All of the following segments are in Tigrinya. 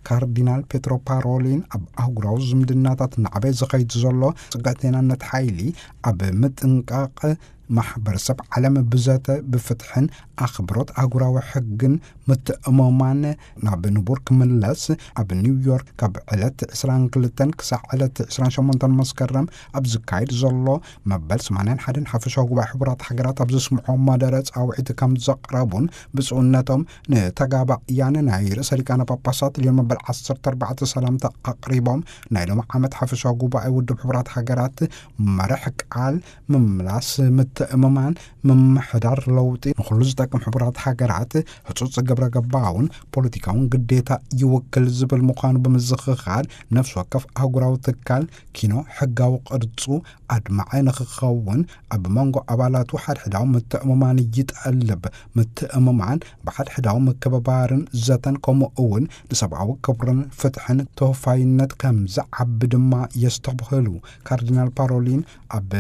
ካርዲናል ፔትሮ ፓሮሊን፣ ኣብ ኣህጉራዊ ዝምድናታት ናዕበ ዝኸይድ ዘሎ ጽግዕተይናነት ሓይሊ ኣብ ምጥንቃቕ፣ ማሕበረሰብ ዓለም ብዘተ፣ ብፍትሕን ኣኽብሮት ኣህጉራዊ ሕግን ምትእምማን ናብ ንቡር ክምለስ፣ ኣብ ኒውዮርክ ካብ ዕለት ዕስራን ክልተን ክሳዕ ዕለት ዕስራን ሸሞንተን መስከረም ኣብ ዝካየድ ዘሎ መበል ሰማንያን ሓደን ሓፈሻዊ ጉባኤ ሕቡራት ሃገራት ኣብ ዘስምዖ መደረ ጻውዒት ከም ዘቕረቡን፣ ብፁዕነቶም ንተጋባእያን ናይ ርእሰ ሊቃነ ጳጳሳት ልዮን መበል ዓሰርተ ኣርባዕተ ሰላምታ ኣቕሪቦም፣ ናይ ሎም ዓመት ሓፈሻዊ ጉባኤ ውድብ ሕቡራት ሃገራት መርሕ ቃል ምምላስ ምትእምማን፣ ምምሕዳር ለውጢ፣ ንኹሉ ዝጠቅም ሕቡራት ሃገራት ህጹጽ ግብረ ገባውን ፖለቲካውን ግዴታ ይውክል ዝብል ምዃኑ ብምዝኽኻር፣ ነፍሲ ወከፍ ኣህጉራዊ ትካል ኪኖ ሕጋዊ ቅርጹ ኣድማዒ ንኽኸውን፣ ኣብ መንጎ ኣባላቱ ሓድሕዳዊ ምትእምማን ይጠልብ። ምትእምማን ብሓድሕዳዊ ምክብባርን ዘተን፣ ከምኡ እውን ንሰብኣዊ ክብርን ፍትሕን ተወፋይነት ከም ዝዓቢ ድማ የስተብህሉ። ካርዲናል ፓሮሊን ኣብ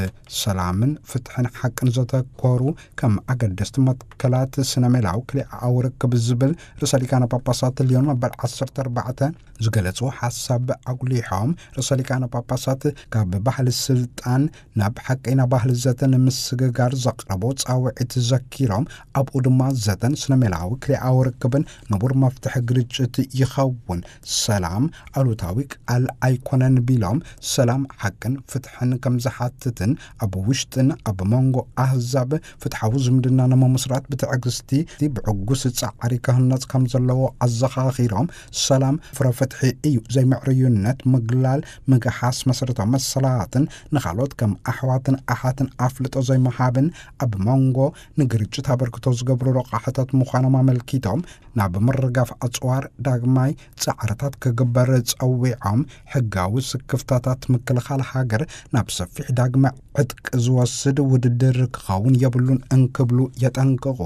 ሰላምን ፍትሕን ሓቅን ዘተኮሩ ከም ኣገደስቲ መትከላት ስነ ሜላዊ ክልኤኣዊ ርክብ ዝብል ርእሰ ሊቃነ ጳጳሳት ልዮን መበል ዓሰርተ ኣርባዕተ ዝገለጹ ሓሳብ ኣጉሊሖም፣ ርእሰ ሊቃነ ጳጳሳት ካብ ባህሊ ስልጣን ናብ ሓቀይና ባህሊ ዘተ ንምስግጋር ዘቕረቦ ጻውዒት ዘኪሮም፣ ኣብኡ ድማ ዘተን ስነ ሜላዊ ክልኤኣዊ ርክብን ንቡር መፍትሒ ግርጭት ይኸውን፣ ሰላም ኣሉታዊ ቃል ኣይኮነን ቢሎም፣ ሰላም ሓቅን ፍትሕን ከም ዝሓትትን ኣብ ውሽጥን ኣብ መንጎ ኣህዛብ ፍትሓዊ ዝምድና ንምምስራት ብትዕግስቲ ብዕጉስ ጻዕሪ ክህነጽ ከም ዘለዎ ኣዘኻኺሮም፣ ሰላም ፍረ ፍትሒ እዩ፣ ዘይምዕርዩነት፣ ምግላል፣ ምግሓስ መሰረታዊ መሰላትን ንኻልኦት ከም ኣሕዋትን ኣሓትን ኣፍልጦ ዘይምሃብን ኣብ መንጎ ንግርጭት ኣበርክቶ ዝገብሩ ረቋሕታት ምዃኖም ኣመልኪቶም፣ ናብ ምርጋፍ ኣጽዋር ዳግማይ ጻዕርታት ክግበር ጸዊዖም፣ ሕጋዊ ስክፍታታት ምክልኻል ሃገር ናብ ሰፊሕ ዳግመ ዕጥቂ ዝወስድ ውድድር ክኸውን የብሉን እንክብሉ የጠንቅቑ።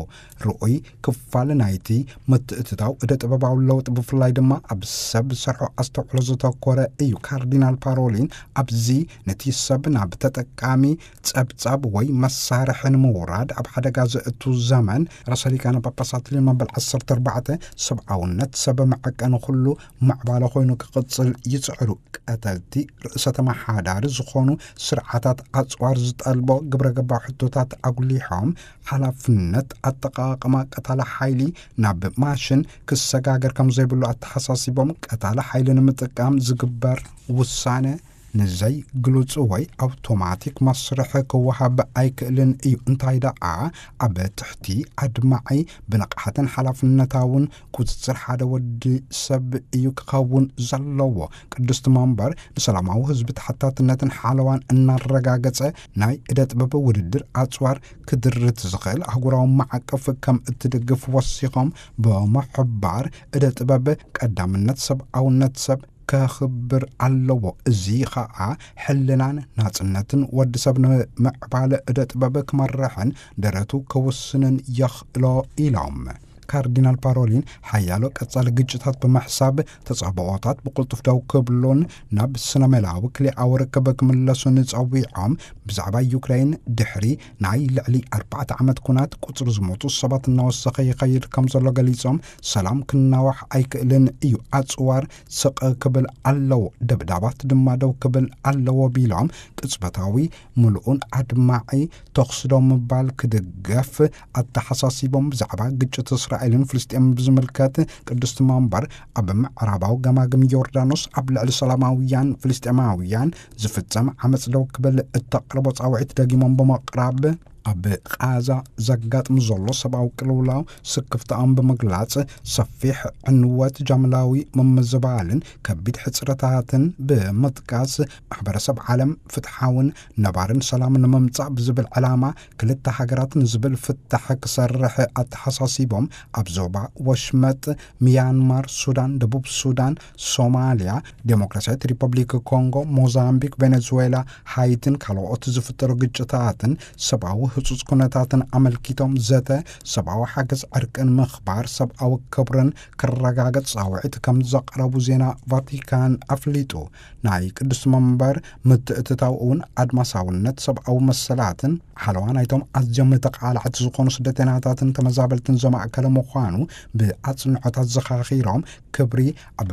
ርኡይ ክፋል ናይቲ ምትእትታው እደ ጥበባዊ ለውጢ፣ ብፍላይ ድማ ኣብ ሰብ ዝሰርሖ ኣስተውዕሎ ዘተኮረ እዩ። ካርዲናል ፓሮሊን ኣብዚ ነቲ ሰብ ናብ ተጠቃሚ ጸብጻብ ወይ መሳርሒ ንምውራድ ኣብ ሓደጋ ዘእቱ ዘመን፣ ርእሰ ሊቃነ ጳጳሳት ልዮን መበል ዓሰርተ ኣርባዕተ ሰብኣውነት ሰብ መዐቀኒ ኩሉ ምዕባለ ኮይኑ ክቕጽል ይጽዕሩ። ቀተልቲ ርእሰ ተመሓዳሪ ዝኾኑ ስርዓታት ኣጽዋር ዝጠልቦ ግብረ ገባዊ ሕቶታት ኣጉሊሖም፣ ሓላፍነት ኣጠቓቕማ ቀታሊ ሓይሊ ናብ ማሽን ክሰጋገር ከም ዘይብሉ ኣተሓሳሲቦም፣ ቀታሊ ሓይሊ ንምጥቃም ዝግበር ውሳነ ንዘይ ግሉጽ ወይ ኣውቶማቲክ መስርሕ ክወሃብ ኣይክእልን እዩ። እንታይ ደኣ፣ ኣብ ትሕቲ ኣድማዒ ብንቕሓትን ሓላፍነታውን ቁጽጽር ሓደ ወዲ ሰብ እዩ ክኸውን ዘለዎ። ቅድስቲ መንበር ንሰላማዊ ህዝቢ ተሓታትነትን ሓለዋን እናረጋገጸ፣ ናይ እደ ጥበብ ውድድር ኣጽዋር ክድርት ዝኽእል ኣህጉራዊ ማዕቀፍ ከም እትድግፍ ወሲኾም ብምሕባር፣ እደ ጥበብ ቀዳምነት ሰብኣውነት ሰብ ከኽብር ኣለዎ። እዚ ኸኣ ሕልናን ናጽነትን ወዲ ሰብ ንምዕባለ እደ ጥበብ ክመርሕን ደረቱ ክውስንን የኽእሎ ኢሎም። ካርዲናል ፓሮሊን ሓያሎ ቀጻሊ ግጭታት ብምሕሳብ፣ ተጻብኦታት ብቕልጡፍ ደው ክብሉን ናብ ስነ ሜላዊ ክልኤኣዊ ርክብ ክምለሱን ጸዊዖም። ብዛዕባ ዩክሬን፣ ድሕሪ ናይ ልዕሊ ኣርባዕተ ዓመት ኩናት፣ ቁጽሪ ዝሞቱ ሰባት እናወሰኸ ይኸይድ ከም ዘሎ ገሊጾም፣ ሰላም ክናዋሕ ኣይክእልን እዩ፣ ኣጽዋር ስቕ ክብል ኣለዎ፣ ደብዳባት ድማ ደው ክብል ኣለዎ ቢሎም፣ ቅጽበታዊ፣ ምሉእን ኣድማዒ ተኹሲ ደው ምባል ክድገፍ ኣተሓሳሲቦም። ብዛዕባ ግጭት እስራኤልን ፍልስጤምን ብዝምልከት፣ ቅድስቲ መንበር ኣብ ምዕራባዊ ገማግም ዮርዳኖስ ኣብ ልዕሊ ሰላማውያን ፍልስጤማውያን ዝፍጸም ዓመጽ ደው ክብል እተቕርቦ ጻውዒት ደጊሞም ብምቕራብ፣ ኣብ ቃዛ ዘጋጥም ዘሎ ሰብኣዊ ቅልውላው ስክፍታኦም ብምግላጽ፣ ሰፊሕ ዕንወት፣ ጃምላዊ ምምዝባልን ከቢድ ሕጽረታትን ብምጥቃስ፣ ማሕበረሰብ ዓለም ፍትሓውን ነባርን ሰላም ንምምጻእ ብዝብል ዕላማ፣ ክልተ ሃገራት ንዝብል ፍታሕ ክሰርሕ ኣተሓሳሲቦም፣ ኣብ ዞባ ወሽመጥ፣ ሚያንማር፣ ሱዳን፣ ደቡብ ሱዳን፣ ሶማልያ፣ ዴሞክራሲያዊት ሪፐብሊክ ኮንጎ፣ ሞዛምቢክ፣ ቬኔዙዌላ፣ ሃይትን ካልኦት ዝፍጠሩ ግጭታትን ሰብኣዊ ህጹጽ ኩነታትን ኣመልኪቶም፣ ዘተ ሰብኣዊ ሓገዝ፣ ዕርቅን ምኽባር ሰብኣዊ ክብርን ክረጋገጽ ጻውዒት ከም ዘቕረቡ ዜና ቫቲካን ኣፍሊጡ። ናይ ቅዱስ መንበር ምትእትታው እውን ኣድማሳውነት ሰብኣዊ መሰላትን ሓለዋ ናይቶም ኣዝዮም ተቓላዕቲ ዝኾኑ ስደተኛታትን ተመዛበልትን ዘማእከለ ምዃኑ ብኣጽንዖት ኣዘኻኺሮም፣ ክብሪ ኣብ